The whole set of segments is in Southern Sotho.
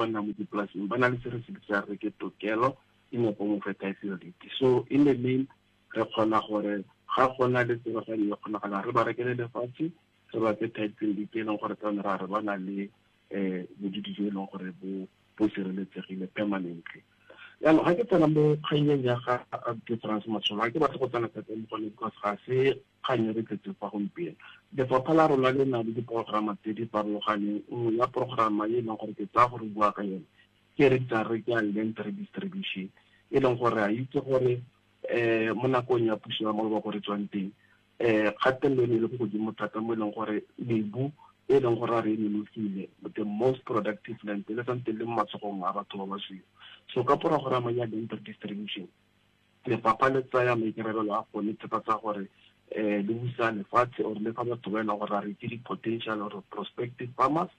ba nnang mo dipolaseng ba na le se re se bitsang re ke tokelo in a form of a title deed. So in the main re kgona gore ga go na le tsebaganyo e kgonagalang re ba rekele lefatshe re ba fe title deed e leng gore tsane ra re ba na le um bodudi jo e leng gore bo bo sireletsegile permanently. Jaanong ga ke tsena mo kgannyeng ya ga Abuti France Matsholo, ga ke batle go tsena thata mo gone because ga se kgang e re tletseng fa gompieno. Lefapha la rona le na le diporograma tse di farologaneng, nngwe ya porograma e leng gore ke tsaya gore bua ka yone ke e re bitsang re ke ya land redistribution, e leng gore a itse gore um mo nakong ya puso ya maloba ko re tswang teng um kgatelelo e ne e le ko godimo thata mo e leng gore mebu e leng gore a re e nonofile, the most productive land e le santse le mo matsogong a batho ba basweu. So ka porograma ya land redistribution lefapha le tsaya maikarabelo a go netefatsa gore um le busa lefatshe or le fa batho ba e leng gore a re ke di-potential or prospective farmers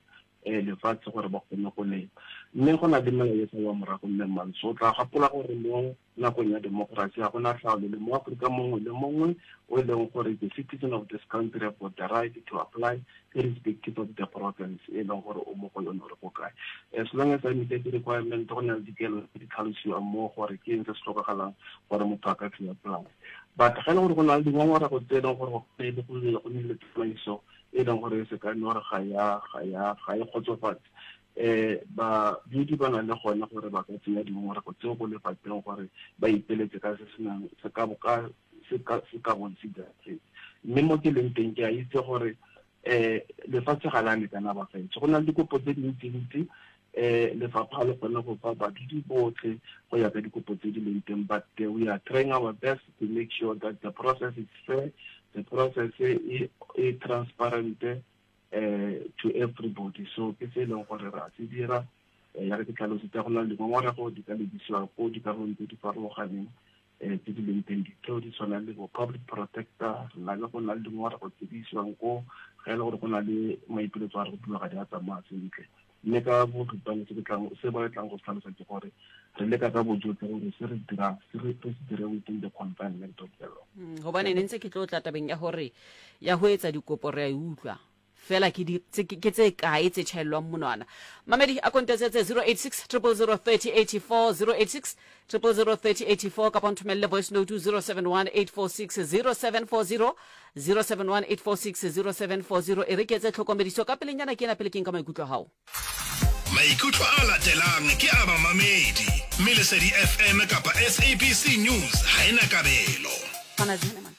um lefatshe gore ba kgone go lema. Mme go na le melao e salwang morago mme Mantsho o tla gopola gore mo nakong ya democracy ga gona tlhaolele mo Aforika mongwe le mongwe o e leng gore the citizen of this country have got the right to apply irrespective of the province e leng gore o mo go yone gore ko kae, as long as a meet the requirement. Go na le dikelo tse di tlhalosiwang mo gore ke eng se se tlhokagalang gore motho a ka fiwa polase, but ga e le gore go na le dingongorego tse e leng gore go go nnile tsamaiso e leng gore e se ka nne gore ga e kgotsofatse, badudi ba na le gone gore ba ka tsenya dingongorego tseo ko lefapheng gore ba ipeletse ka se se nang se ka ka se ka se ka bong se diragetse. Mme mo ke leng teng ke a itse gore lefatshe ga la lekana bagaetsho, go na le dikopo tse dintsi-ntsi, lefapha le kgone go fa badudi botlhe go ya ka dikopo tse di leng teng, but we are trying our best to make sure that the process is fair, the process e e transparent to everybody. So ke se e leng gore re a se dira ya re ke tlhalositse, go na le dingongorego di ka lebisiwa ko dikarolong tse di farologaneng tse di leng teng, ditheo di tshwana le bo public protector, re na le go na le dingongorego tse di isiwang ko ga e le gore go na le maipiletso a re go dilo ga di a tsamaya sentle. Mme ka boripana se ke tlang se ba tlang go se tlhalosa ke gore re leka ka bojotlhe gore se re dirang se re se dire within the confinement of the law. Gobane ne ntse ke tlo tla tabeng ya gore ya ho etsa dikopo re a e utlwa fela ke di tse ke tse kae tse tjhaellwang monwana. Mamedi a kontetsetse 086 000 3084, 086 000 3084, kapa nthomelle voice note 071 846 0740, 071 846 0740. E re ke etse tlhokomediso ka pelenyana ke ena pele ke nka maikutlo a gago. Maikutlo a latelang ke a bamamedi, mme Lesedi FM kapa SABC News ha e na kabelo. Mkhwanazi Heneman.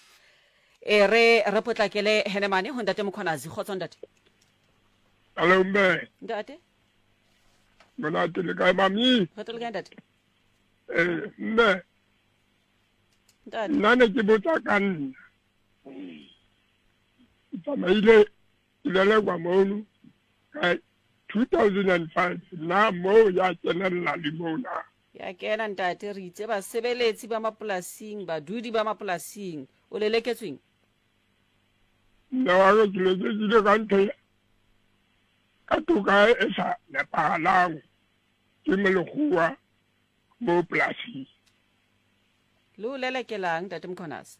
E re re potlakele Henemane ho ntate Mkhwanazi. Kgotso ntate. Hello mme. Ntate. Monate le kae mami? Kgotso le kae ntate? Mme. Ntate. Nna ne ke botsa ka nna. Ke tsamaile ke lelekwa mono ka 2005, na moo ya kenella le moo na? Ya kena ntate, re itse basebeletsi ba mapolasing, badudi ba mapolasing. O leleketsweng? Nna wa ka ke lelekile ka ntho ka toka e sa nepagalang ke molekgowa mo polasing. Le o lelekelang ntate Mkhwanazi?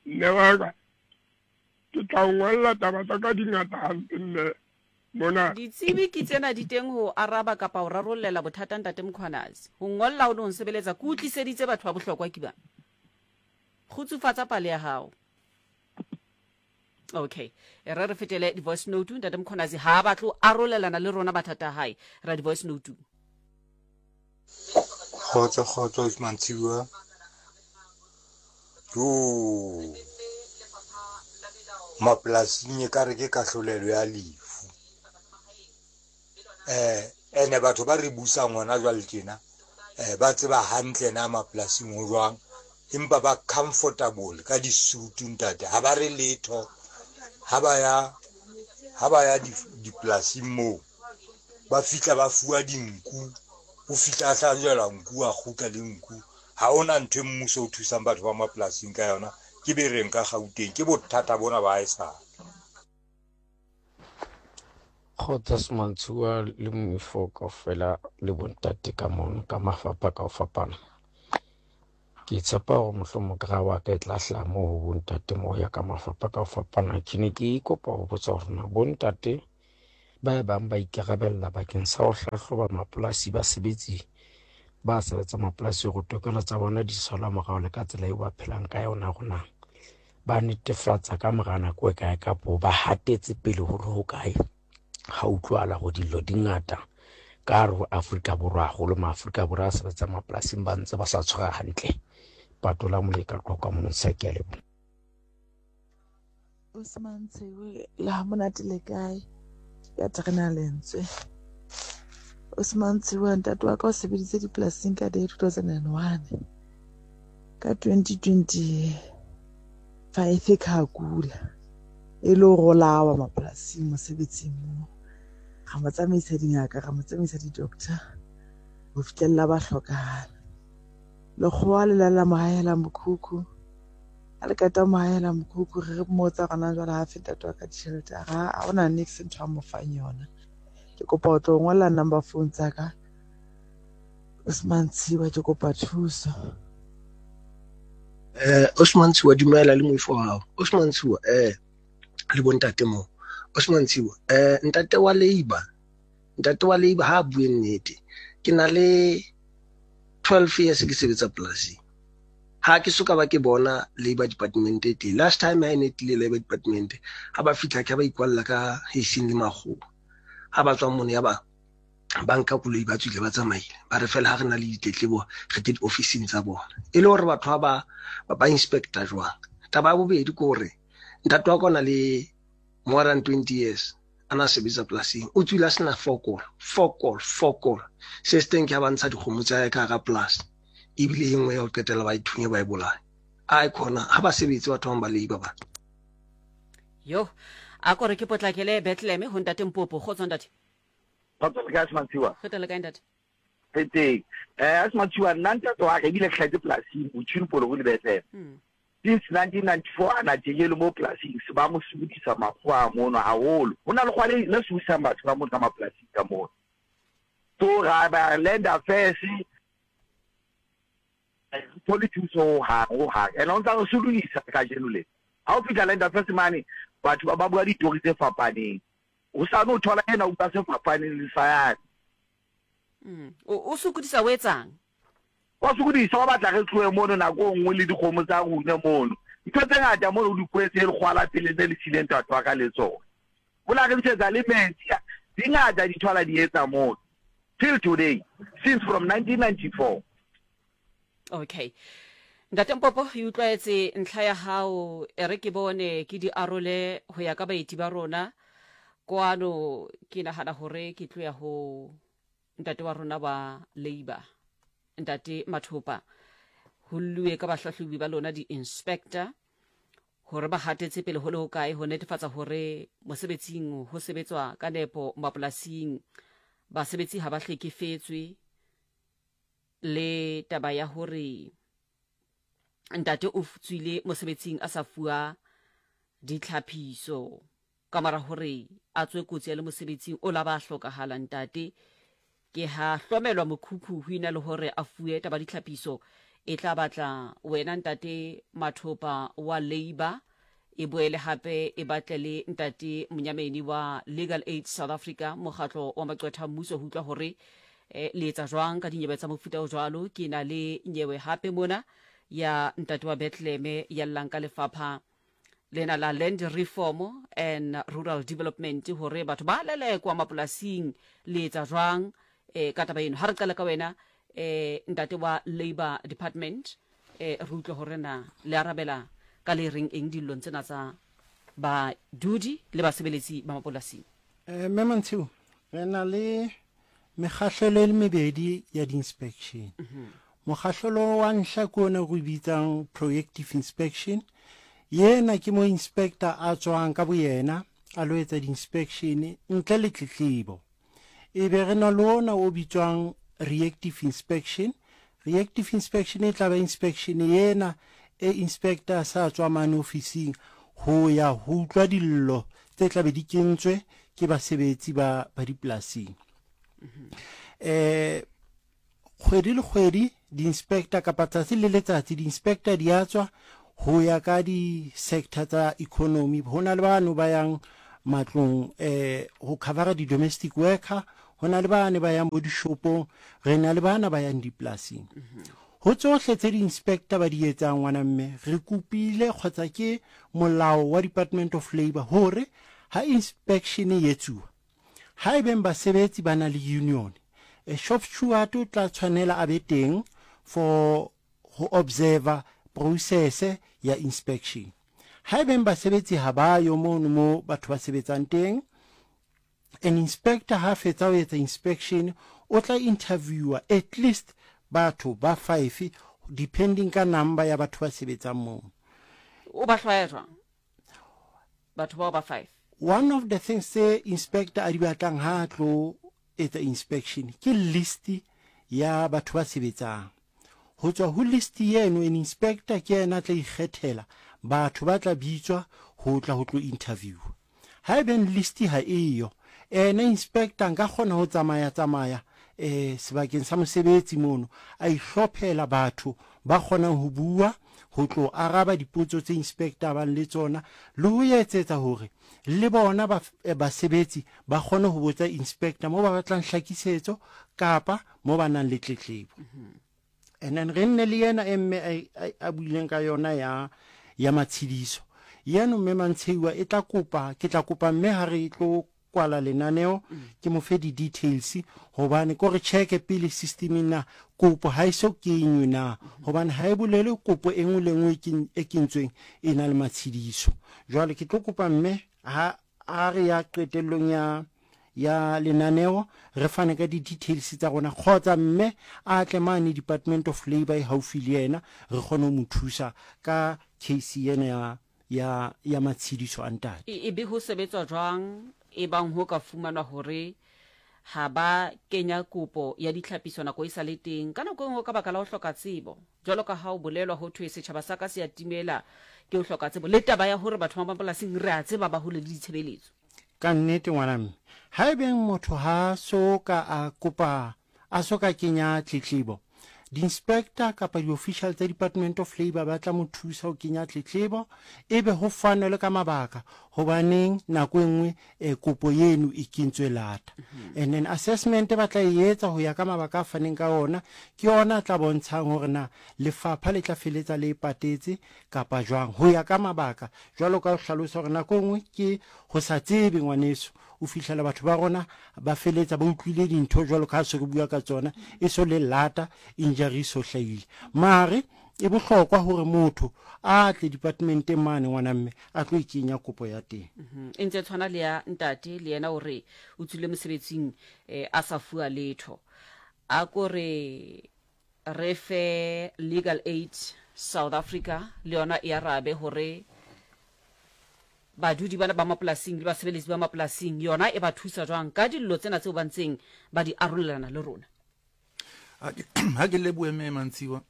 Nne wa ka ke tla o ngwalla taba tsa ka di ngata hampe mme mona. Ditsebi ke tsena di teng ho araba kapa ho rarollela bothata ntate Mkhwanazi. Ho ngolla ho no nsebeletsa ke o tliseditse batho ba bohlokwa ke bana. Kgutsufatsa pale ya hao. Okay. E re re fetele di-voice note. Ntate Mkhwanazi ha a batle ho arolelana le rona mathata a hae. Ra di-voice note. Kgotso kgotso mantsibuya. Jo. Mapolasing e kare ke kahlolelo ya lefu. Ene batho ba re busang hona jwale tjena ba tseba hantle na mapolasing ho jwang, empa ba comfortable ka disutu ntate, ha ba re letho ha ba ya ha ba ya dipolasing moo, ba fihla ba fuwa dinku, o fihla a hlajelwa nku, a kgutla le nku. Ha hona ntho e mmuso o thusang batho ba mapolasing ka yona, ke bereng ka Gauteng, ke bothata bona ba haesale. Kgotsa Semantshiwa le moifo kaofela le bontate ka mono ka mafapha ka ho fapana. Ke tshepa hore mohlomong kra wa ka e tla hlaha moo ho bontate moo ya ka mafapha ka ho fapana. Ke ne ke kopa ho botsa hore na bontate Ba e bang ba ikarabella bakeng sa ho hlahloba mapolasi basebetsi ba sebetsang mapolasi hore tokelo tsa bona di salwa morao le ka tsela eo ba phelang ka yona hore na ba netefatsa ka mora nako e kae kapo ba hatetse pele ho le hokae. Ha utlwahala hore dillo di ngata ka hare ho Afrika Borwa haholo Maafrika Borwa a sebetsang mapolasing ba ntse ba sa tshwara hantle. Patola Moleka Qwaqwa Montsha, ke a leboha. Osman Tshewe le ha monate le kae ya terena lentswe Osman Tshewe ntate wa ka o sebeditse dipolasing ka day 2001 ka 2025 ka kula e le hore o lawa mapolasing mosebetsing moo ra mo tsamaisa dingaka ra mo tsamaisa di-doctor ho fihlella ba hlokahala lekgowa le lala mo hahela mokhukhu Ha re qeta ho mo hahela mokhukhu re re mmotsa hore na jwale ha fe ntate wa ka ditjhelete a re ha hona niks ntho a mo fang yona. Ke kopa ho tlo ngolla number phone tsa ka Osman Tshiwa ke kopa thuso. Eh Osman Tshiwa dumela le moifo wa hao. Osman Tshiwa eh le bontate mo. Osman Tshiwa eh ntate wa labor ntate wa labor ha bue nnete. Ke na le 12 years ke sebetsa polasing. Ha ke soka ba ke bona labor department e teng. Last time ha e ne tlile labor department, ha ba fihla ke ba ikwalla ka hesing le makgowa. Ha ba tswa mono ya ba ba nka koloi ba tswile ba tsamaile. Ba re fela ha re na le ditletlebo re tle diofising tsa bona. E le hore batho ba ba ba inspector jwang. Taba ya bobedi ke hore ntate wa ka o na le more than 20 years a na sebetsa polasing o tswile a sena fokol fokol fokol se se teng ke ha ba ntsha dikgomo tsa hae ka hara polasi ebile e nngwe ya ho qetela ba ithunye ba e bolaye a e khona ha ba sebetse batho bang ba leiba ba yo a kore ke potlakele Bethlehem ho ntate Mpopo kgotso ntate kgotso le kae Semantshiwa re teng le kae ntate re teng eh Semantshiwa nna ntate wa ka ebile ke hlahetse polasing Botshwini Poloko le Bethlehem hmm. Since 1994 a na tjekele mo polasing se ba mo sokodisa makgowa a mono haholo. Ho na lekgowa le le sokodisang batho ka mono ka mapolasing ka mono. So ra ba land affairs re thole thuso ho hang ho hang. And o ntsa re sokodisa kajeno le. Ha o fihla land affairs mane batho ba ba bua ditori tse fapaneng. Hosane o thola ena o bua se fapaneng le sa yane. Mm. O sokodisa o etsang? Ba sokodisa, ba batla re tlohe mono nako e nngwe le dikgomo tsa rune mono. Ntho tse ngata mono o di kwetse lekgowa la pele ne le siile ntate wa ka le tsona. O la re ntshetsa le metsi. Di ngata dintho a la di etsa mono. Till today, since from 1994. Okay. Ntate Mpopo, e utlwaetse ntlha ya hao, e re ke bone ke di arole ho ya ka baeti ba rona. Kwano ke nahana hore ke tlo ya ho Ntate wa rona wa Labour, Ntate Mathopa, ho lluwe ka bahlahlobi ba lona di-inspector hore ba hatetse pele ho le hokae ho netefatsa hore mosebetsing ho sebetswa ka nepo mapolasing, basebetsi ha ba hlekefetswe, le taba ya hore ntate o tswile mosebetsing a sa fuwa ditlhaphiso. Ka mora hore a tswe kotsi a le mosebetsing o la ba hlokahala, ntate ke ha hlomelwa mokhukhu ho ena le hore a fuwe taba ditlhapiso. E tla batla wena ntate Mathopa wa Labour, e boele hape e batle le ntate Monyameni wa Legal Aid South Africa, mokgatlo wa maqwetha a mmuso, ho utlwa hore eh, le etsa jwang ka dinyewe tsa mofuta o jwalo. Ke na le nyewe hape mona ya ntate wa Bethlehem ya llang ka lefapha lena la Land Reform and Rural Development hore batho ba lelekwa mapolasing le etsa jwang eh, ka taba eno. Ha re qala ka wena eh, ntate wa Labour Department eh, re utlwe hore na le arabela ka le reng eng dillong tsena tsa badudi le basebeletsi ba mapolasing. Eh, Mme Mantshiu, re na le mekgahlelo e le mebedi ya di-inspection. Mokgahlelo wa ntlha ke ona re o bitsang proactive inspection. Yena ke mo inspector a tswang ka boyena a lo etsa di-inspection ntle le tletlebo. E be re na le ona o bitswang reactive inspection. Reactive inspection e tla ba inspection yena e inspector sa tswa mane ofising ho ya ho utlwa dillo tse tla be di kentswe ke basebetsi ba ba dipolasing. Eh kgwedi le kgwedi di-inspector kapa tsatsi le letsatsi di-inspector di a tswa ho ya ka di-sector tsa economy. Ho na le bano ba yang matlong um go covera di-domestic worker, go na le bane ba yang bo dishopong, re na le bana ba yang dipolasing. Go tsohle tse di-inspector ba di etsang ngwana mme, re kopile kgotsa ke molao wa Department of Labour gore ha inspection e etsuwa, ha e beng basebetsi ba na le union, a shop steward o tla tshwanela a be teng for go observer process ya inspection. Ha e beng basebetsi ha ba yo mono mo batho ba sebetsang teng, an inspector ha fetsa ho etsa inspection o tla interviewer at least batho ba five depending ka number ya batho ba sebetsang moo. O ba hlwaya jwang batho bao ba five? One of the things tse inspector a di batlang ha a tlo etsa inspection ke list ya batho ba sebetsang. Ho tswa ho list eno an inspector ke yena a tla ikgethela batho ba tla bitswa ho tla ho tlo interviewa. Haebeng list ha eyo, ena inspector nka kgona ho tsamaya tsamaya eh sebakeng sa mosebetsi mono a ihlophela batho ba kgonang ho bua ho tlo araba dipotso tse inspector a bang le tsona le ho etsetsa hore le bona ba basebetsi ba kgone ho botsa inspector mo ba batlang hlakisetso kapa mo ba nang le tletlebo. And then re nne le yena e mme a buileng ka yona ya ya matshidiso. Yeno mme Mantsheiwa e tla kopa ke tla kopa mme ha re tlo kwala lenaneo ke mo fe di-details hobane ko re check pele systemeng na kopo ha e so kenywe na, hobane ha e bolele kopo e nngwe le nngwe e kentsweng e na le matshidiso. Jwale ke tlo kopa mme ha a re ya qetellong ya ya lenaneo re fane ka di-details tsa rona kgotsa mme a tle mane Department of Labour e haufi le yena re kgone ho mo thusa ka case ena ya ya ya matshediso a ntate. E be ho sebetswa jwang ebang ho ka fumanwa hore ha ba kenya kopo ya ditlhapiso nako e sa le teng, ka nako e nngwe ka baka la ho hloka tsebo? Jwalo ka ha ho bolelwa ho thwe setjhaba sa ka se a timela ke ho hloka tsebo, le taba ya hore batho ba mapolasing re a tseba ba hole le ditshebeletso. Ka nnete ngwana mme, haebeng motho ha so ka a kopa, a so ka kenya tletlebo, di-inspector kapa di-official tsa Department of Labour ba tla mo thusa ho kenya tletlebo, ebe ho fanwe le ka mabaka hobaneng nako e nngwe eh, kopo eno e kentswe lata. And then assessment ba tla e etsa ho ya ka mabaka a faneng ka ona, ke ona a tla bontshang hore na lefapha le tla feletsa le e patetse kapa jwang, ho ya ka mabaka. Jwalo ka ho hlalosa hore nako e nngwe ke ho sa tsebe ngwaneso, o fihlela batho ba rona ba feletsa ba utlwile dintho jwalo ka ha se re bua ka tsona, e so le lata, injury e so hlahile. Mare e bohlokwa hore motho a tle departmenteng mane ngwana mme a tlo e kenya kopo ya teng. E ntse e tshwana le ya ntate, le yena o re o tswile mosebetsing a sa fuwa letho. A ko re re fe Legal Aid South Africa le yona e arabe hore badudi bana ba mapolasing le basebeletsi ba mapolasing yona e ba thusa jwang ka dillo tsena tseo ba ntseng ba di arolelana le rona. Ha ke lebohe mme Mantshiwa.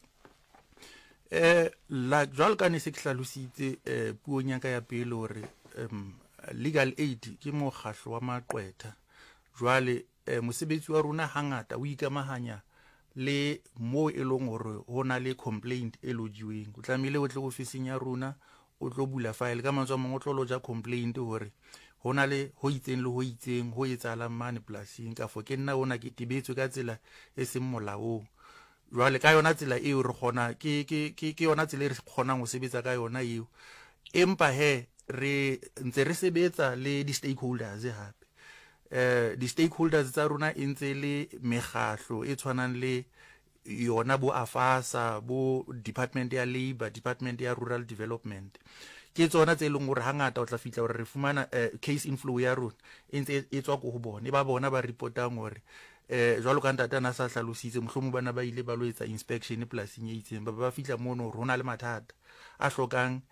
La jwalo ka ne se ke hlalositse puong ya ka ya pele hore legal aid ke mokgahlo wa maqwetha. Jwale mosebetsi wa rona hangata o ikamahanya le moo e leng hore ho na le complaint e lojiweng. O tlamehile o tle ofising ya rona o tlo bula file, ka mantswe a mangwe o tlo loja complaint hore ho na le ho itseng le ho itseng ho etsahalang mane polasing, kafo ke nna ona ke tebetswe ka tsela e seng molaong. Jwale ka yona tsela eo re kgona ke ke ke ke yona tsela e re kgonang ho sebetsa ka yona eo. Empa he re ntse re sebetsa le di-stakeholders hape. Di-stakeholders tsa rona e ntse le mekgahlo e tshwanang le yona bo AFASA, bo Department ya Labour, Department ya Rural Development. Ke tsona tse leng hore hangata o tla fihla hore re fumana case inflow ya rona e ntse e tswa ko ho bona, e ba bona ba reportang hore jwalo ka ntate ana sa hlalositse, mohlomong bana ba ile ba lo etsa inspection polasing e itseng, ba ba fihla mono hore ho na le mathata a hlokang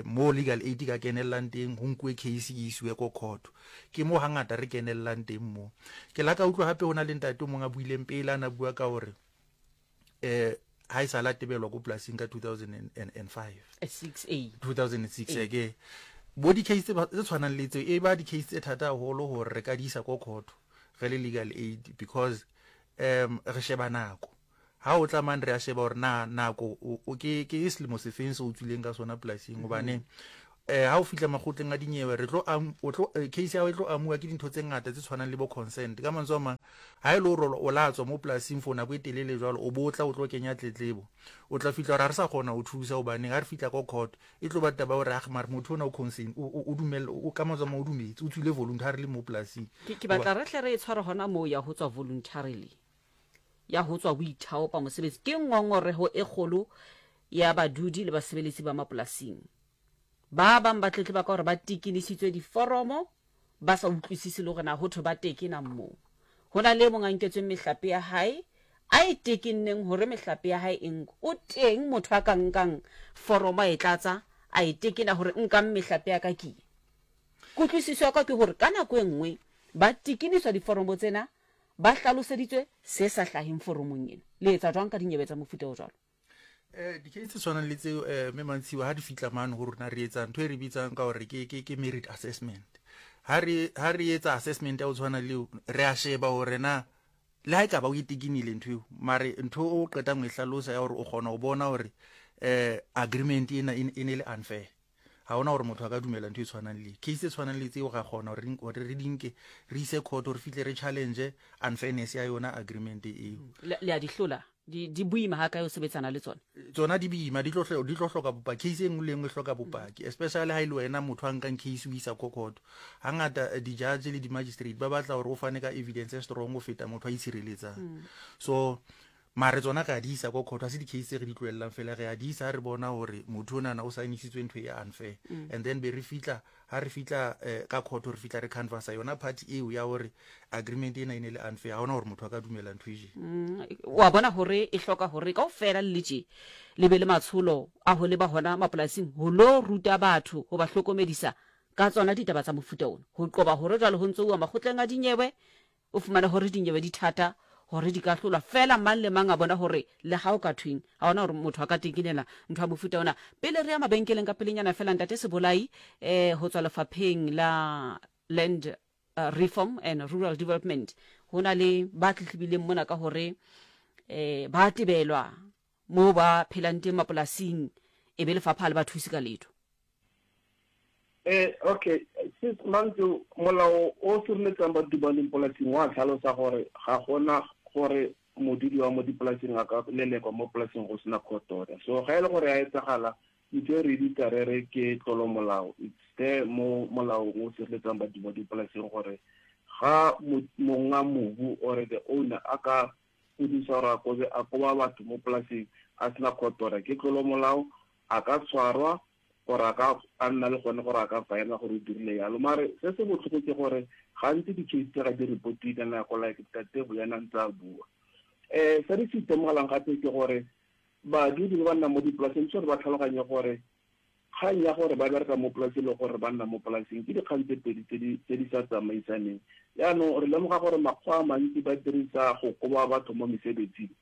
mo legal aid ka kenellang teng, ho nkuwe case e isiwe ko court. Ke mo hangata re kenellang teng mo. Ke la ka utlwa hape ho na le ntate o mong a buileng pele, a na bua ka hore ha e sala tebelwa ko polasing ka 2005. 6 a. 2006, ke bo di-case tse tshwanang le tseo, e ba di-case tse thata haholo hore re ka di isa ko court re le legal aid, because re sheba nako. Ha o tla mane re a sheba hore na nako o ke ke selemo sefeng se o tswileng ka sona polasing, hobane Eh ha o fihla makgotleng a dinyewe re tlo o tlo eh, case ya hao e tlo amuwa ke dintho tse ngata tse tshwanang le bo consent. Ka mantswe a mang, ha e le hore o la tswa mo polasing for nako e telele jwalo, o bo tla o tlo kenya tletlebo. O tla fihla hore ha re sa kgona ho thusa hobaneng ha re fihla ko court e tlo ba taba ya hore ah mare motho ona o consent o dumella o ka mantswe a mang o dumetse o tswile voluntarily mo polasing. Ke batla re hle re e tshware hona moo ya ho tswa voluntarily. Ya ho tswa o ithaopa mosebetsi ke ngongoreho e kgolo ya badudi le basebeletsi ba mapolasing. Ba bang ba tletleba ka gore ba tekenisitswe diforomo ba sa utlwisise le gore na ho thwe ba tekenang moo. Ho na le e mong a nketsweng mehlape ya hae a e tekenneng hore mehlape ya hae e nkwe. O teng motho a ka nkang foromo a e tlatsa a e tekena hore nkang mehlape ya ka ke ye. Kutlwisiso ya ka ke hore ka nako e nngwe ba tekeniswa diforomo tsena ba hlaloseditswe se sa hlaheng foromong ena. Le etsa jwang ka dinyewe tsa mofuta o jwalo? Eh, di-case tse tshwanang le tseo eh, mme Mantshiwa ha di fihla mane ho rona re etsa ntho e re bitsang ka hore ke, ke, ke merit assessment. Ha re, ha re etsa assessment ya ho tshwana le eo, re a sheba hore na le ha e ka ba o e tekinile ntho eo, mare ntho o qetang ho e hlalosa ya hore o kgona ho bona hore eh, agreement ena e ne e le unfair. Ga ona gore motho a ka dumela ntho e tshwanang le case e tshwanang le tseo, ra kgona gore re di nke re ise court gore fihle re challenge unfairness ya yona agreement eo. Le a di hlola? Di boima ha kae o sebetsana le tsona? Tsona di boima, di tlo di tlo hloka bopaki. Case e nngwe le nngwe e hloka bopaki, especially ha e le wena motho a nkang case o isa ko court. Hangata eh, di-judge le di-magistrate ba batla gore o fane ka evidence e strong go feta motho a itshireletsang. So Mare tsona re a di isa ko court, ha se di-case tse re di tlohellang fela, re a di isa ha re bona hore motho onana o signisitswe ntho e unfair. And then be re fihla, ha re fihla eh, ka court re fihla re canvassa yona part eo ya hore agreement ena e ne le unfair, ha hona hore motho a ka dumela ntho e je. Wa bona hore e hloka hore kaofela le le tje le be le matsholo a ho leba hona mapolasing ho lo ruta batho, ho ba hlokomedisa ka tsona ditaba tsa mofuta ona, ho qoba hore jwale ho ntso uwa makgotleng a dinyewe. O fumane gore dinyewe di thata gore di ka hlolwa, fela mang le mang a bona gore le ga o ka thweng, ga ona gore motho a ka tekinela ntho ya mofuta ona. Pele re ya mabenkeleng ka pelenyana fela, Ntate Sebolai eh, ho tswa lefapheng la Land Reform and Rural Development, ho na le ba tletlebileng mona ka gore eh, ba tebelwa moo ba phelang teng mapolasing, e be lefapha ha le ba thuse ka letho. Eh, okay sis Mantso, molao o sireletsang badudi ba leng polasing wa tlhalosa gore ga gona gore modudi wa mo dipolasing a ka lelekwa mo polasing go sena court order. So ga e le gore ya etsagala, ntho e re bitsa re re ke tlolo molao. It's there mo molaong o sireletsang badudi ba dipolasing gore ga monga mobu or the owner a ka fudusa gore a kobe a koba batho mo polasing a sena court order, ke tlolo molao, a ka tshwarwa gore a ka a nna le gone gore a ka faena gore o dirile yalo. Mare se se botlhoko ke gore gantsi di-case tse ga di reportiwe ka nako, like Ntate Boyana ntse a bua. Um se re se itemogelang gape ke gore badudi ba ba nnang mo dipolaseng tshwanetse ba tlhaloganye gore kgang ya gore ba bereka mo polaseng le gore ba nna mo polaseng ke dikgang tse pedi tse di sa tsamaisaneng. Jaanong re lemoga gore makgwa a mantsi ba dirisa go koba batho mo mesebetsing,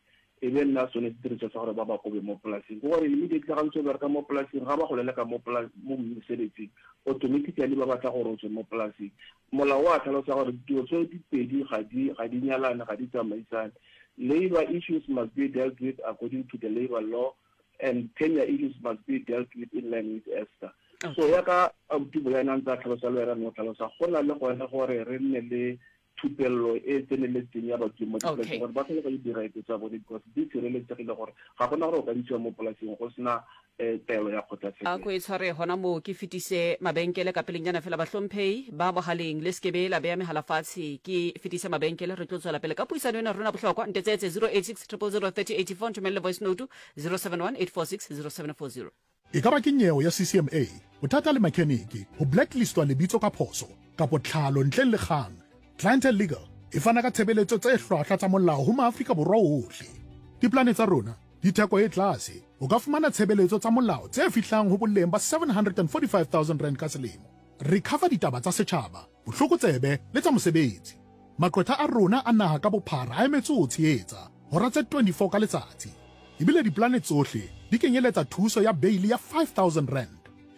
e be nna sone sediriswa sa gore ba ba kobe mo polasing. Ke gore immediately ga ntse o bereka mo polasing, ga ba go leleka mo mo mosebetsing, automatically ba batla gore o tswe mo polasing. Molao wa tlhalosa gore dilo tse di pedi ga di ga di nyalane, ga di tsamaisane. Labor issues must be dealt with according to the labor law and tenure issues must be dealt with in line with ESTA. So ya ka abuti Boyana a ntse a tlhalosa le wena no tlhalosa, go na le gone gore re nne le thupello e e tseneletseng ya badudi mo dipolasing gore ba tlhaloganye di-right tsa bone, because di sireletsegile gore ga gona gore o ka ntshiwa mo polasing go sena um taelo ya kgotlatshekelo. A ko e tshware gona moo ke fetise mabenkele ka pelenyana fela. Bahlomphei ba bogaleng, le sekebe la beya megala fatshe, ke fetise mabenkele, re tlo tswela pele ka puisano ena rona bohlokwa. Ntetsetse 086 000 3084, nthomelle voice note 071 846 0740. E ka ba ke nyeo ya CCMA, bothata le makheniki, ho blacklistwa lebitso ka phoso, kapo tlhalo ntleng le kgang, Clientele Legal e fana ka tshebeletso tse hlwahlwa tsa molao ho maAfrika Borwa ohle. Diplane tsa rona di theko e tlase, o ka fumana tshebeletso tsa molao tse fihlang ho boleng ba R745 000 ka selemo. Re cover ditaba tsa setjhaba, bohlokotsebe le tsa mosebetsi. Maqwetha a rona a naha ka bophara a emetse ho o tshehetsa hora tse 24 ka letsatsi. Ebile diplane tsohle di kenyeletsa thuso ya beili ya R5000.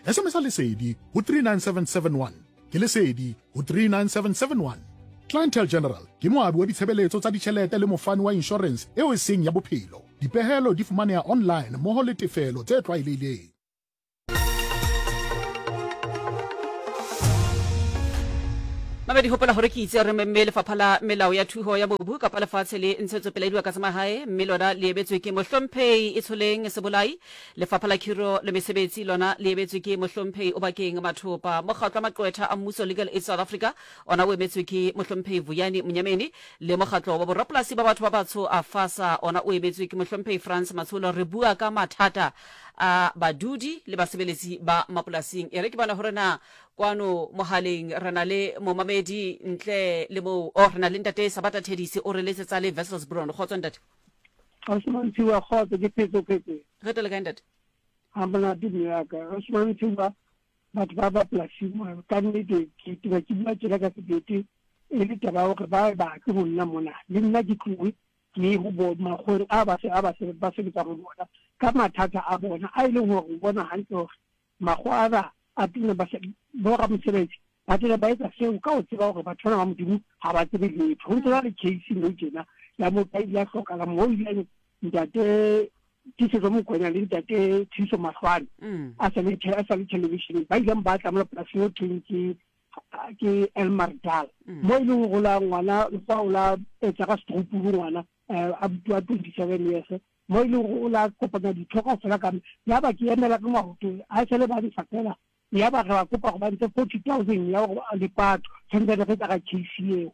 SMS-a Lesedi ho 39771. Ke Lesedi ho 39771. Clientele General ke moabi wa ditshebeletso tsa ditjhelete le mofani wa inshorense eo e seng ya bophelo. Dipehelo di fumaneha online mmoho le tefelo tse tlwaelehileng. Mamedi hopola hore ke itse re memme lefapha la melao ya thuho ya mobu kapa lefatshe le ntshetsopele ya dibaka tsa mahae mme lona le emetswe ke Mohlomphehi Itsholeng Sebolai. Lefapha la Khiro le Mesebetsi lona le emetswe ke Mohlomphehi Obakeng Mathopa. Mokgatlo wa Maqwetha a Mmuso Legal Aid South Africa ona o emetswe ke Mohlomphehi Vuyani Mnyameni le Mokgatlo wa Borapolasi ba Batho ba Batsho AFASA ona o emetswe ke Mohlomphehi Frans Matsholo. Re bua ka mathata a badudi le basebeletsi ba mapolasing. E re ke bone hore na Kwano mohaleng re na le momamedi ntle le moo. Oh, re na le ntate Sabata Thedisi o re letsetsa le Wesselsbron. Kgotso ntate. Ausi kgotso ke phetso phetse. Re tele kae ntate? Ha monate mme ya ka. Ausi Mantshiwa batho ba ba polasing ka nnete ke tena ke bua tjena ka sebete e le taba ya hore ba batle ho nna mona le nna ke tlohe ke ye ho bo makgoweng a ba se a ba ba sebetsang ho bona ka mathata a bona a e leng hore o bona hantle hore Makgowa ana a tena ba boramosebetsi ba tena ba etsa seo ka ho tseba hore batho bana ba Modimo ha ba tsebe letho. Ho ntse na le case nou tjena ya motho a ile a hlokahala moo ileng ntate Tiisetso Mokoena le ntate Thuso Mahlwane mm. a sa le a sa le televisioneng ba ileng ba tla mo polasing eo thweng ke ke Elmardal mm. mo e leng gore la ngwana fa o la etsa ka stroopuru ngwana eh, a bua 27 years mo e leng gore o la kopanya ditho kao fela ka ya ba ke emela ka maoto a sele ba ntsha fela ya ba re ba kopa go ba ntshe 40,000 ya gore lepato tshwanetse re tsa ka case eo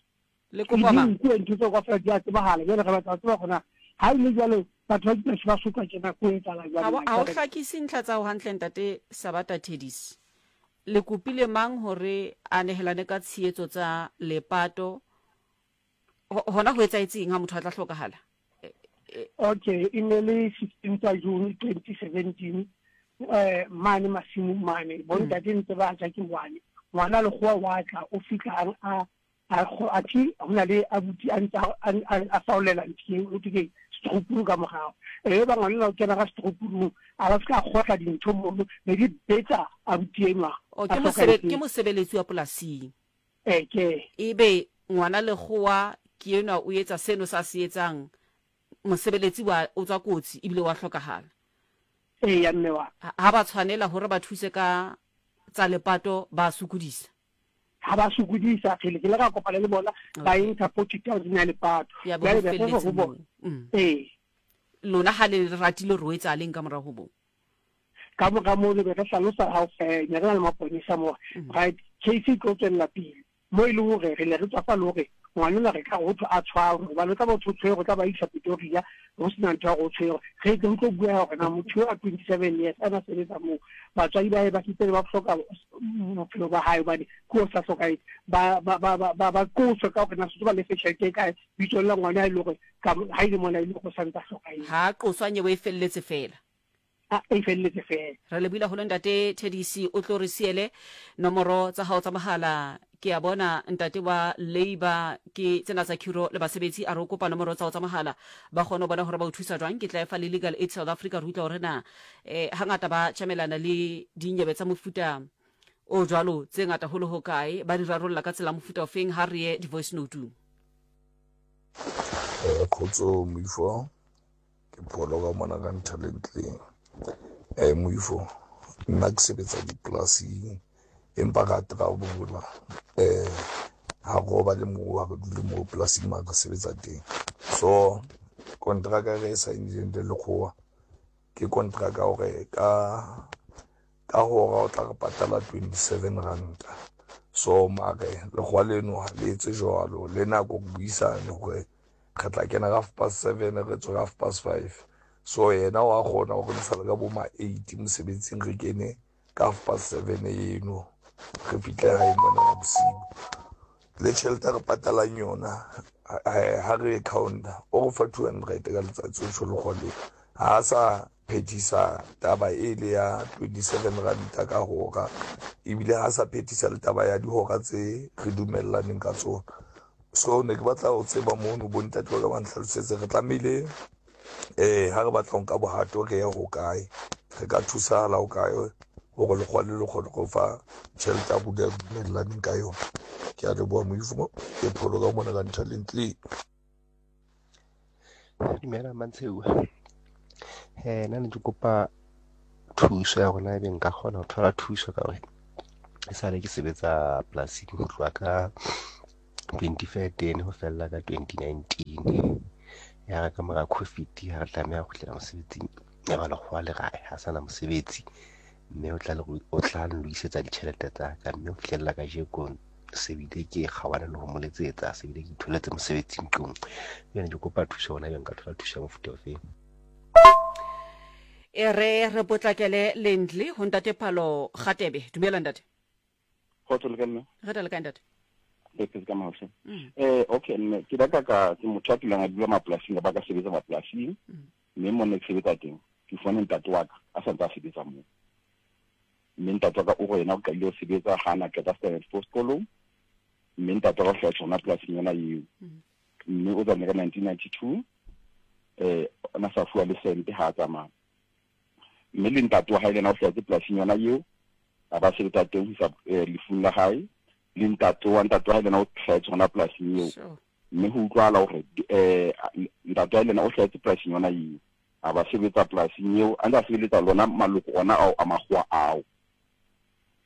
le kopa mang ke ntho tse kaofela di a tsebahala jwale re batla go tseba gona ha e le jwalo batho ba dipolasi ba sotlwa tjena ko etsahala jwang ha o hlakise ntlha tsa ho hantle ntate Sabata Thedis le kopile mang hore a nehelane ka tshehetso tsa lepato hona ho etsahetseng ha motho a tla hlokahala okay e ne le 16 tsa June 2017 eh mane masimong mane bontate ntse ba ja ke ngwane ngwana lekgowa wa tla o fihla a a thi ho na le abuti a ntse a faolela ntho eo o ke setrupuru ka morago e ba ngwana o kena ka setrupurung a ba fihla a kgotla dintho mono be di betsa abuti enwa ke mosebeletsi wa polasing Ee, ke. Ebe ngwana lekgowa ke enwa o etsa seno sa se etsang, mosebeletsi wa o tswa kotsi ebile wa hlokahala. Eya, mme wa. Ha ba tshwanela hore ba thuse ka tsa lepato ba sokodisa. Ha ba sokodisa, kgele ke ile ka kopana le bona ba e ntsha 40,000 ya lepato. Ya bo ho Jwale be re re felletse ho bona. moo. Ee. Lona ha le ratile hore ho etsahaleng ka mora ho moo? Ka mora moo re be re hlalosa ha eh, ne re na le maponesa mo mm. right case e tlo tswelela pele mo e leng hore re ne re tswafa le hore ngwanona re ka go thwe a tshwarwe gobane o tla ba o tshwerwe o tla ba isa Pretoria go sena ntho ya go tshwerwe re tle go tlo bua gore na motho yo a 27 years a na sebetsa moo batswadi ba ba setse ba hloka bophelo ba hae hobane ke o sa hlokahetse ba ba ba ba ba qoswe ka hore na setse ba lefe tjhelete e kae bitsong la ngwana e le hore ha ile mona e le go santsa hlokahetse ha qoswa nyewe e felletse fela A e felletse fela. Re lebohile haholo ntate Thedisi o tlo re siele nomoro tsa hao tsa mohala ke a bona ntate wa labor ke tsena tsa khiro le basebetsi a re o kopa nomoro tsa hao tsa mohala ba kgone ho bona hore ba o thusa jwang ke tla e fa le legal aid South Africa re utlwa hore na eh hangata ba tjamelana le dinyebe tsa mofuta o jwalo tse ngata holo ho kae ba di rarolla ka tsela mofuta ofeng ha re ye di-voice note-ung. Eh, kgotso moifo Ke pholo ka mona ka Nthalentleng. Eh, moifo, nna ke sebetsa dipolasing empa ka travel-a eh ha go ba le moo ha re dule moo polasing ma re sebetsa teng. So kontraka re e saenileng le lekgowa ke kontraka hore ka ka hora o tla re patala 27 ranta. So mare lekgowa leno ha le etse jwalo le nako re buisane hore re tla kena ka half past seven re tswe ka half past five so yena wa kgona gore re sale ka bo ma eight mosebetsing re kene ka half past seven eno re fihle gae mona ya bosiu le tšhelete re patalang yona ha re e counter o go fa 200 ka letsatsi o tšho lekgoleng ha a sa phethisa taba e le ya 27 ranta ka hora ebile ha sa phethisa le taba ya dihora tse re dumellaneng ka tsona so ne ke batla ho tseba mono bontate ba ka ba ntlhalosetse re tlamehile um ha re batla ho nka bohato re ye hokae re ka thusahala hokae gore lekgwa le le kgone go fa tšhelete ya rona dumellaneng ka yona ke a leboha moifo ke pholo ka mona ka nthalentle. Dumela Mantsheu. Eh nna ne ke kopa thuso ya rona ebe nka kgona ho thola thuso ka hore E sale ke sebetsa polasing ho tloha ka 2013 ho fella ka 2019. Ya re ka mora COVID ha re tlameha ho kgutlela mosebetsing, ya ba lekgowa le re ha sana mosebetsi mme o tla o tla nlokisetsa ditjhelete tsa ka mme ho fihlella kajeko se bile ke kgaohane le ho mo letsetsa se bile ke itholetse mosebetsi ntlong. Jwale ke kopa thuso hona ebe nka thola thuso ya mofuta ofeng. E re re potlakele Lindley ho ntate Phalo Gatebe. Dumela ntate. Kgotso le ka mme. Re le kae ntate? Re phetse ka maohle. Mm. Eh okay mme ke batla ka ke motho a kileng a dula mapolasing ba ka sebetsa mapolasing. Mm. Mme mo ne ke sebetsa teng ke fumane ntate wa ka a sa ntse a sebetsa moo. Mme ntate wa ka o go yena o qadile ho sebetsa ha na qeta standard four sekolong. Mme ntate wa ka o hlahetse hona polasing yona eo. Mm. Mme o tsamaile ka 1992 eh ona sa fuwa le sente ha a tsamaya mme le ntate wa hae le yena o hlahetse polasing yona eo a ba sebetsa teng ho isa eh, lefung la hae le ntate wa ntate wa hae le yena o hlahetse hona polasing eo mme ho utlwahala hore eh ntate wa hae le yena o hlahetse polasing yona eo a ba sebetsa polasing eo a ntse a sebeletsa lona maloko ona ao a makgowa ao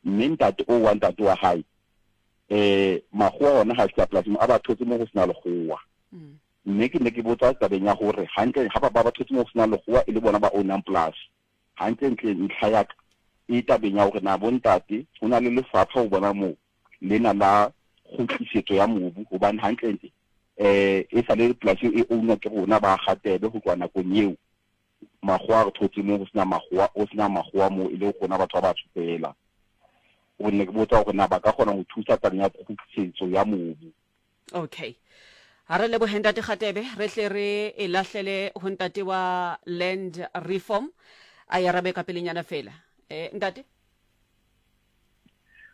mme ntate o wa ntate wa hae eh makgowa ona ha fihla polasing a ba thotse mo go sena lekgowa mm. mme ke ne ke botsa tabeng ya gore hantle ha ba ba thotse mo go sena lekgowa e le bona ba ownang polasi hantle ntle ntlha ya ka e tabeng ya gore na bontate ho na le lefapha ho bona moo lena la kgutlisetso ya mobu hobane hantlentle eh e sa le polasi e ownwa ke rona ba Gatebe ho tloha nakong eo makgowa a re thotse mo go sena makgowa o sena makgowa mo e le rona batho ba batsho fela o ne ke botsa gore na ba ka kgona go thusa tabeng ya kgutlisetso ya mobu. Okay. Ha re lebohe ntate Kgatebe, re tle re e lahlele ho ntate wa land reform a e arabe ka pelenyana fela. Eh ntate?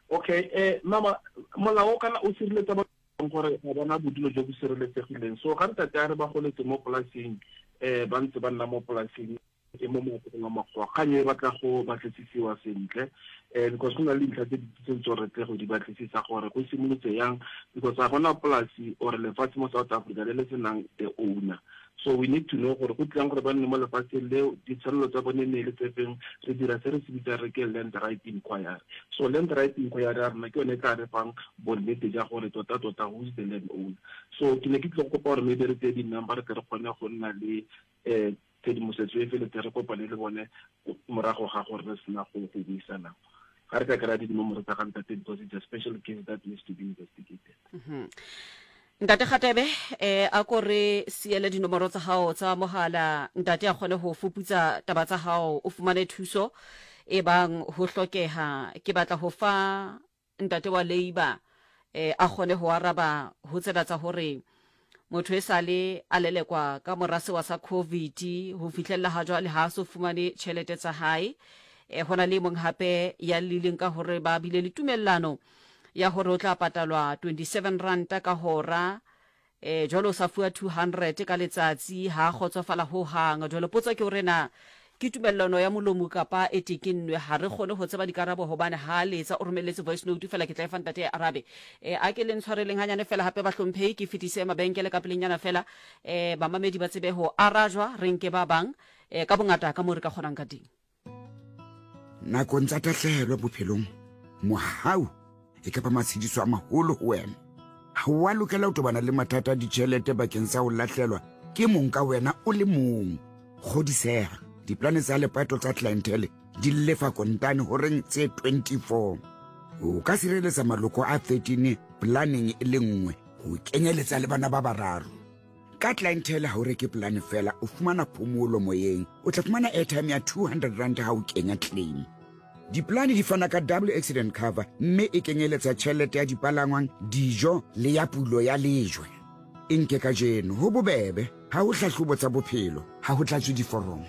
Okay, eh mama molao kana o sireletsa ba gore ga bona bodulo jo bo sireletsegileng. So ga ntate a re ba goletse mo polasing eh ba ntse ba nna mo polasing e mo moapogong wa makgowa kgang e batla go batlisisiwa sentle um because go na le dintlha tse di tse re tle go di batlisisa gore go simolotse yang because ga gona polasi or lefatshe mo South Africa le le senang the owner so we need to know gore go tlilang gore ba nne mo lefatsheng leo ditshwanelo tsa bone ne le tse feng re dira se re se bitsang re ke land right inquiry so land right inquiry ya rona ke yone e tla re fang bonnete ja gore tota tota who is the land owner so ke ne ke tlile go kopa gore maybe re tseye di-number re tle re kgone go nna le um tshedimosetso e feletse re kopane le bone morago ga gore re sena go go buisana ga re ka kry-a dinomoro tsa ga ntate because it's a special case that needs to be investigated mhm. ntate gatebe eh a ko re siele dinomoro tsa gago tsa mogala ntate a kgone go fuputsa taba tsa gago o fumane thuso e bang ho hlokeha ke batla ho fa ntate wa labour eh, a kgone ho araba ho tsena tsa hore motho e sale a lelekwa ka mora sewa sa covid ho fihlella ha jwale ha a so fumane tjhelete tsa hae eh, ho na le e mong hape ya lileng ka hore ba bile le tumellano ya hore o tla patalwa 27 ranta ka hora E, jwale o sa fuwa 200 ka letsatsi, ha a kgotsofala ho hang. Jwale potso ke hore na ke tumellano ya molomo kapa e tekennwe? Ha re kgone ho tseba dikarabo hobane ha a letsa o romelletse voice note feela, ke tla e fa ntate a arabe. E, a ke le ntshwareleng hanyane feela hape bahlomphehi, ke fetise mabenkele ka pelenyana feela, e, bamamedi ba tsebe ho arajwa, re nke ba bang, e, ka bongata ka moo re ka kgonang ka teng. Nakong tsa tahlehelo bophelong, mohau e ka ba matshediso a maholo ho wena. Ha o a lokela ho tobana le mathata a ditjhelete bakeng sa ho lahlelwa ke mong ka wena o le mong. Kgodiseha, diplane tsa lepato tsa Clientele di lefa kontane horeng tse 24. O ka sireletsa maloko a 13 planeng e le nngwe ho kenyeletsa le bana ba bararo. Ka Clientele ha o reke polane fela, o fumana phomolo moyeng. O tla fumana airtime ya 200 rand ha o kenya claim. Dipolane di fana ka double accident cover mme e kenyeletsa tjhelete ya dipalangwang, dijo le ya pulo ya lejwe. E nke kajeno, ho bobebe, ha ho hlahlobo tsa bophelo, ha ho tlatswe diforomo.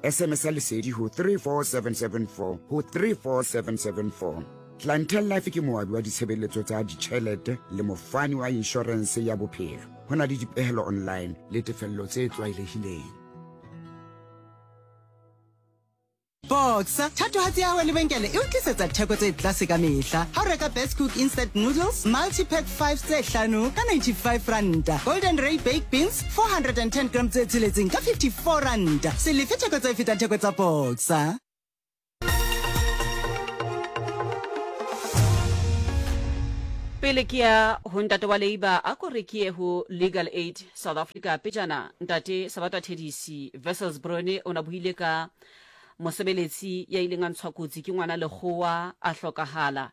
SMS ya Lesedi ho 34774 ho 34774. Clientele Life ke moabi wa ditshebeletso tsa ditjhelete le mofani wa inshorense ya bophelo. Ho na le dipehelo online le tefello tse tlwaelehileng. Boxer, thatohatsi ya hao ya lebenkele e o tlisetsa theko tse tlase ka mehla. Ha o reka Best Cook Instant Noodles Multi-Pack 5 tse hlano ka 95 ranta, Golden Ray Baked Beans 410 gram tse tsheletseng ka 54 ranta. Se lefe theko tse fetang theko tsa Boxer. Pele ke ya ho ntate wa Labour, a ko re ke ye ho Legal Aid South Africa. Pejana ntate Sabata Thedisi Wessels Brone o na buile ka mosebeletsi ya ileng a ntshwa kotsi ke ngwana lekgowa a hlokahala.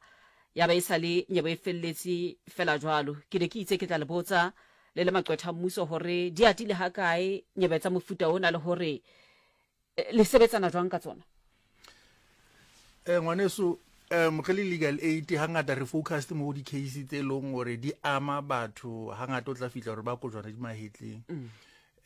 Ya ba e sa le nyebo e felletse fela jwalo. Ke ne ke itse ke tla le botsa le le maqwetha a mmuso hore di atile hakae nyebe tsa mofuta ona le hore le sebetsana jwang ka tsona? Eh ngwaneso um re le legal aid hangata re focused mo di-case tse e leng gore di ama batho hangata o tla fitlha gore ba kojwana di mahetleng mm.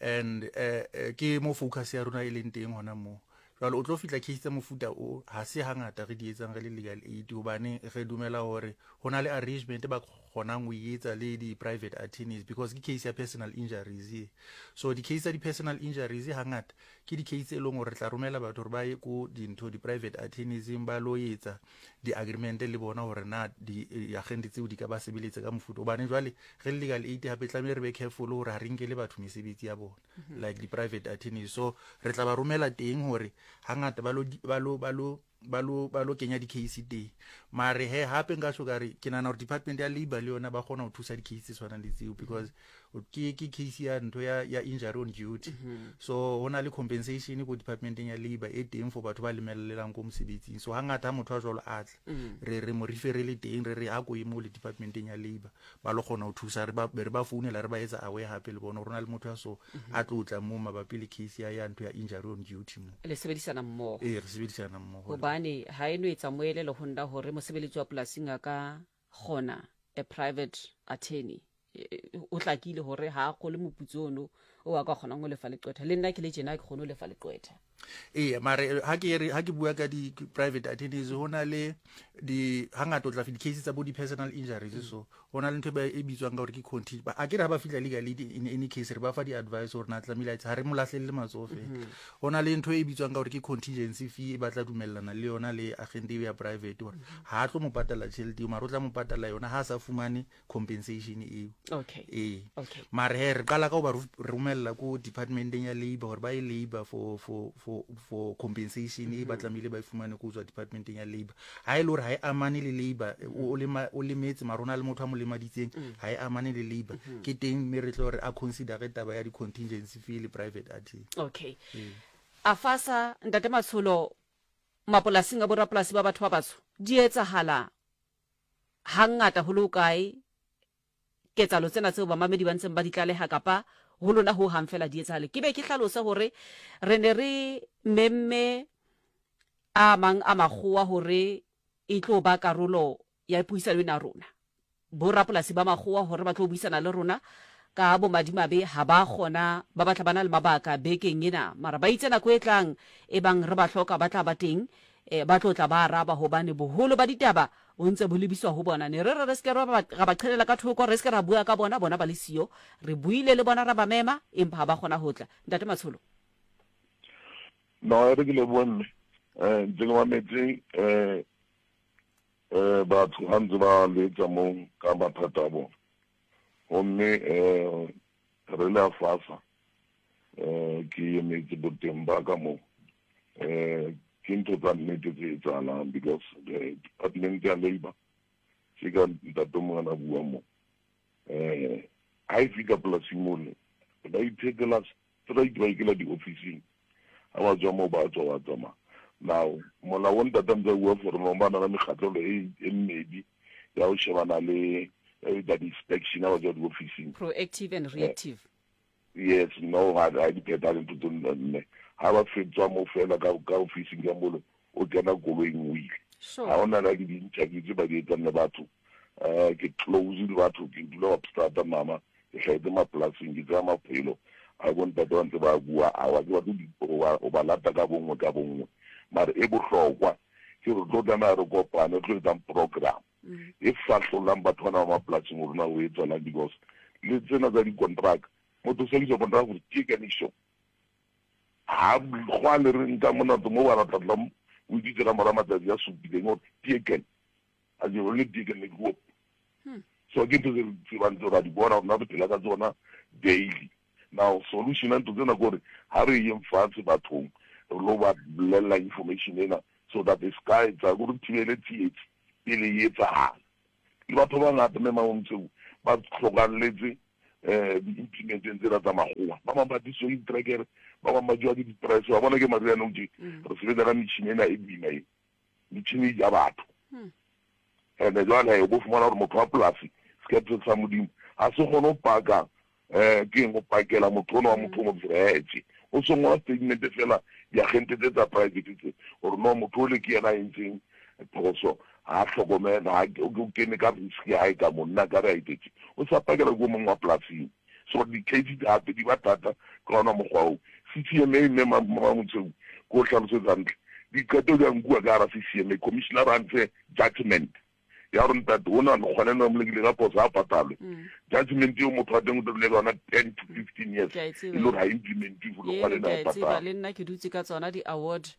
and eh, eh, ke mo focus ya rona e leng teng hona moo jwale o tlo fihla case tsa mofuta o ha se hangata re di etsang re le legal aid hobane re dumela hore ho na le arrangement ba kgonang ho e etsa le di-private attorneys because ke case ya personal injuries e so di-case tsa di-personal injuries hangata Ke di-case tse e leng gore re tla romela batho gore ba ye ko dintho di-private attorneys-eng ba lo etsa di-agreement le bona gore na di-agente tseo di ka ba sebeletsa ka mofuta gobane jwale re le legal aid gape tlamehile re be careful gore ga re nkele batho mesebetsi ya bona mhm. like di-private attorneys so re tla ba romela teng gore hangata ba lo ba lo ba lo ba lo ba lo kenya di-case teng mare he gape nka sho kare ke nana gore department ya labor le yona ba kgona go thusa di-case tse tshwanang le tseo because ke ke case ya ntho ya ya injury on duty mm -hmm. so ho na le compensation ko departmenteng ya labor e teng for batho ba lemelelang ko mosebetsing so hangata ha motho a jwalo a tla mm -hmm. re re mo referele teng re re a ko ye mo le departmenteng ya labor ba lo kgona ho thusa re ba re ba founela re ba etsa aware hape le bona rona le motho ya so mhm. a tlo tla mo mabapi le case ya ya ntho ya injury on duty mo le sebedisana mmogo ee re sebedisana mmogo hobane ha e no etsa moelelo ho nna hore mosebeletsi wa polasing a ka kgona a private attorney e, e, o tlakile hore ha a kgole moputso ono o a ka kgonang ho lefa leqwetha le nna ke le tjena ke kgone ho lefa leqwetha ee mare ha ke re ha ke bua ka di private attorneys ho na le di hangata o tla di case tsa bo di personal injuries mm. so ho na le ntho e bitswang ka hore ke conti ba a ke re ha ba fihla legal aid in any case re ba fa di advice hore na tlamehile a ha re mo lahlelle matsoho fela mm-hmm. ho na le ntho e bitswang ka hore ke contingency fee e batla dumellana le yona le agent ya private hore mm-hmm. ha tlo mo patala tjhelete eo mara o tla mo patala yona ha a sa fumane compensation eo okay ee okay mare he re qala ka go ba romella ko departmenteng ya labor gore ba ye labor for for for for compensation e ba mhm. tlamehile ba e fumane ko tswa departmenteng ya labor ha e le gore ha e amane le labor o lema o lemetse mara o na le motho a mo lemaditseng mm. ha e amane le labor mm-hmm. ke teng mme re tlo re a consider taba ya di-contingency fee le private attorney okay ee. a fasa ntate matsholo mapolasing a borapolasi ba batho ba batsho di etsahala Hangata ho le hokae ketsahalo tsena tseo bamamedi ba ntseng ba di tlaleha kapa ho lona ho hang feela di etsahale? Ke be ke hlalose hore re ne re memme a mang a makgowa hore e tlo ba karolo ya puisano ena ya rona. Borapolasi ba makgowa hore ba tlo buisana le rona ka bomadimabe ha ba kgona ba batla ba na le mabaka bekeng ena mara ba itse nako e tlang e bang re ba hloka ba tla ba teng eh, ba tlo tla ba araba hobane boholo ba ditaba bo ntse bo lebiswa ho bona. Ne re re re se ke ra ba ra ba qhelela ka thoko, re se ke ra bua ka bona, bona ba le siyo. Re buile le bona ra ba mema, empa ha ba kgona ho tla. Ntate Matsholo. No, e re ke lebohe mme. Eh, ntse ke mametse eh eh batho ha ntse ba letsa mo ka mathata a bona. Gomme eh re le afasa eh ke emetse boteng ba ka mo eh ke ntho tsa nnete tse etsahalang because the department ya labor ke ka ntate mongwe a bua mo eh ha e fika polasing mole ba iphetela straight ba ikela di-officing ha ba tswa moo ba tswa ba tsamaya now molao o ntate ntse a bua for no ba na le mekgatlelo e e mmedi ya go shebana le ya di-inspection ha ba tswa di-officing proactive and reactive Yes, no, ga ga di pheta dintho tse nne. Ha ba fetswa mo fela ka ka ofising ka molo, o kena koloing o ile. Sure. Ha ona la di interview tse ba di etsang le batho. Eh ke close le batho, ke dula Wapstrata mama, ke hlahetse mapolasing, ke tsaya maphelo a bo ntate ba ntse ba bua awa ke batle o ba lata ka bonngwe ka bonngwe. Mara e bohlokwa ke re tlo tlameha re kopane re tlo etsang program. e fahlollang batho bana ba mapolasing gore na o e tswalang because le tsena tsa dikontraka motho o sebedisa kontraka gore ke kanišo ga gwa le re nka monato mo ba ratlatla o itse ka mora matsatsi a supileng gore tieken a je le tieken le go so ke ntho tse re tsebang tse ra di bona rona re phela ka tsona daily now solution ya ntho tsena kore ha re yeng fatshe bathong re lo ba bolella information ena so that e ska etsa gore thibele tsietsi pele e etsahala. Le batho ba bangata mme Mamomtseu ba hlokalletse um di-implementeng tsena tsa makgowa. Ba bang ba tlisitswe ke ditrekere, ba bang ba jewa ke di-press. Wa bona ke mariha nou tje, re sebetsa ka metjhini ena e boima e. Metjhini e ja batho. And-e jwale o bo fumana hore motho wa polasi, sekephe sa Modimo, ha se kgone ho paka um ke eng, ho pakela motho ona wa motho o motho hee tje. O so ngola statement feela diagente tse tsa private tse hore no motho ole ke yena a entseng phoso, ha a hlokomela, ha o kene ka risk ya hae ka mo, nna ka re a etse tje. O sa pakela ke o mong wa polasing. So di-case di hape di ba thata ka ona mokgwa oo. C_C_M_A mme Mamotsheu ke o hlalosetsa hantle. Diqeto di a nkuwa ka hara C_C_M_A, commissioner a ntshe judgement ya gore ntate ona lekgwaneng re mo lekile ka phoso ha patalwe. Judgement eo motho wa teng o tlo dula ka yona 10 to 15 years Ke a e e tseba le gore eo. ha implementiwe Eno lekgwaneng ke ha a e e tseba patalwe. le nna ke dutse ka tsona di-award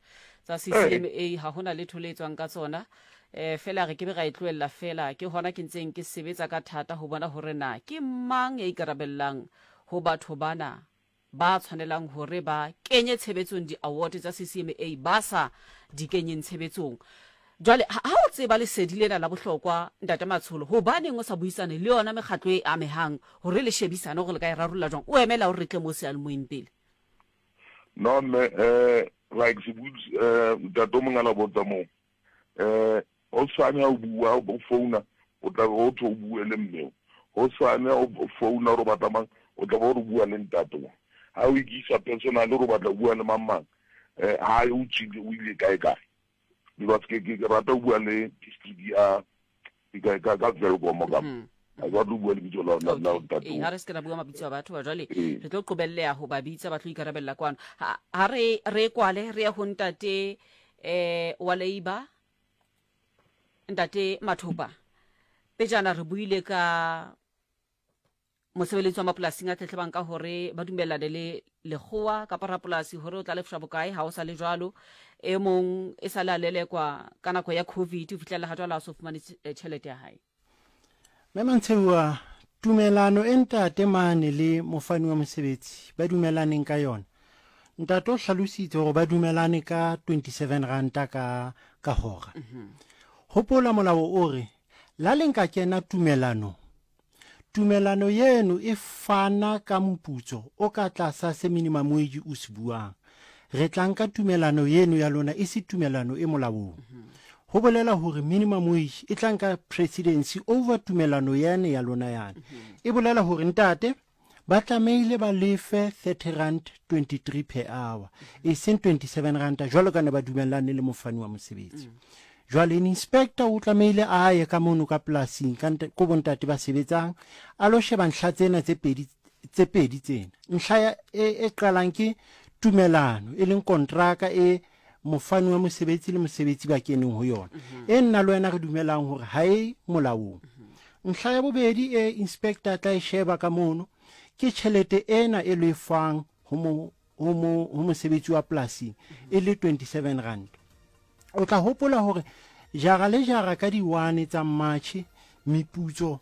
tsa C_C_M_A ha hona letho le etswang ka tsona. Eh fela re ke be ra e tlohella fela ke hona ke ntseng ke sebetsa ka thata ho bona hore na ke mang ya ikarabellang ho batho bana ba tshwanelang hore ba kenye tshebetsong di-award tsa C_C_M_A ba sa di kenyeng tshebetsong. Jwale ha o tseba lesedi lena la bohlokwa Ntate Matsholo, hobaneng o sa buisane le yona mekgatlo e amehang hore le shebisane hore le ka e rarolla jwang? O emela hore re tle mo seyalemoyeng pele. No mme eh like se eh ntate o mongwe a la botsa moo eh hosane ha o bua o founa o tla be o thwe o bue le mme o hosane ha o founa gore o batla mang o tla be o re bua le ntate o ha o ikisa personal gore o batla o bua le mang mang eh ha o tswile o ile kae kae because ke ke rata o bua le district ya ka ka ka Welkom ka ha ke batle ho bua lebitso la la la ntate Ee, ha re se ke ra bua mabitso a batho ba jwale Ee. re tlo qobelleha ho ba bitsa ba tlo ikarabella kwano. Ha ha re re kwale re ye ho ntate eh wa Labour ntate Mathopa. Pejana re buile ka mosebeletsi wa mapolasing a tletlebang ka hore ba dumellane le lekgowa kapa rapolasi hore o tla lefshwa bokae ha o sa le jwalo. E mong e sa le a lelekwa ka nako ya covid ho fihlela ha jwale a so fumane tjhelete ya hae. Mme Mantsheuwa, tumelano e ntate mane le mofani wa mosebetsi ba dumelaneng ka yona, ntate o hlalositse hore ba dumelane ka 27 ranta ka ka hora. Hopola molao o re la le nka kena tumelanong, tumelano yeno e fana ka moputso o ka tlasa se minimum wage o se buang. Re tla nka tumelano yeno ya lona e se tumelano e molaong. Ho bolela hore minimum wage e tla nka presidency over tumelano yane ya lona yane. E bolela hore ntate ba tlamehile ba lefe 30 rand 23 per hour e seng 27 ranta jwalo ka ne ba dumellane le mofani wa mosebetsi. Jwale inspector o tlamehile a ye ka mono ka polasing ka ko bontate ba sebetsang a lo sheba ntlha tsena tse pedi tse pedi tsena. Ntlha ya e, e qalang ke tumelano e leng kontraka e mofani wa mosebetsi le mosebetsi ba keneng ho yona e nna le wena re dumelang hore ha e molaong. Ntlha ya bobedi e inspector a tla e sheba ka mono ke tjhelete ena e lefwang ho mo ho mo ho mosebetsi wa polasing e le 27 rand. O tla hopola hore jara le jara ka di-1 tsa March meputso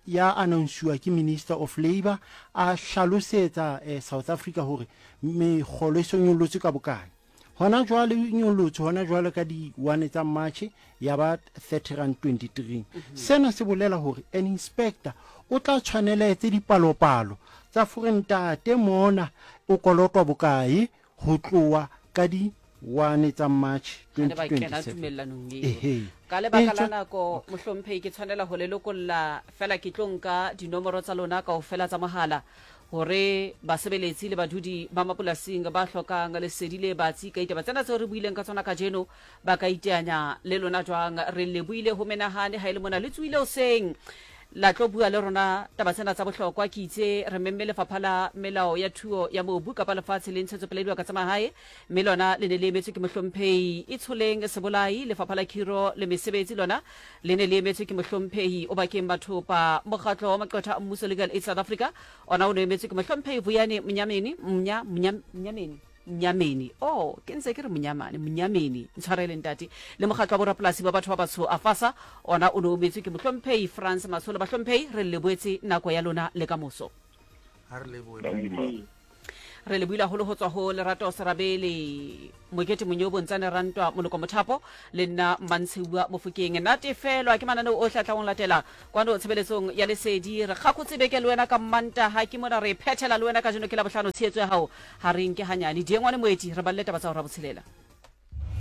ya announsiwa ke Minister of Labour a hlalosetsa eh, South Africa hore mekgolo e so nyolotswe ka bokae. Hona jwale e nyolotswe hona jwale ka di-1 tsa March ya ba 30 rand 23. Sena se bolela hore an inspector o tla tshwanela etse dipalopalo tsa fore ntate mona o kolotwa bokae ho tloha ka di 1 tsa March Ha ne ba kena 2027. tumellanong eo. Ehe. Ka lebaka la Etswe nako, mohlomphehi, ke tshwanela ho le lokolla feela ke tlo nka dinomoro tsa lona kaofela tsa mohala hore basebeletsi le badudi ba mapolasing ba hlokang lesedi le batsi ka ditaba tsena tseo re buileng ka tsona kajeno ba ka iteanya le lona jwang. Re lebohile ho menahane ha e le mona le tsohile hoseng la tlo bua le rona taba tsena tsa bohlokwa. Ke itse re memme lefapha la melao ya thuo ya mobu kapa lefatshe le ntshetsopele ya dibaka tsa mahae, mme lona le ne le emetswe ke mohlomphehi Itsholeng Sebolai. Lefapha la khiro le mesebetsi lona le ne le emetswe ke mohlomphehi Obakeng Bathopa. Mokgatlo wa maqwetha a mmuso Legal Aid South Africa ona o ne o emetswe ke mohlomphehi Vuyani Mnyameni, Mnya, Mnya, Mnyameni. Mnyameni. Oh, ke ntse ke re Monyamane, Mnyameni. Ntshwarele ntate. Le mokgatlo wa borapolasi ba batho ba batsho AFASA, ona o ne o metswe ke mohlomphehi Frans Masolo. Bahlomphehi, re le lebohetse nako ya lona le ka moso. Ha re lebohe. Re lebohile haholo ho tswa ho Lerato Serabele, Mokete Monyobo, Ntsane Rantwa, Moloko Mothapo le nna Mmantsheua Mofokeng. Natefelwa ke mananeo ohle a tlang ho latela kwano tshebeletsong ya Lesedi. Re kgakotse beke le wena ka Mmantaha, ke mona re e phethela le wena kajeno ke Labohlano. Tshehetso ya hao ha re nke hanyane. Diengwane Moeti, re balle taba tsa hora botshelela.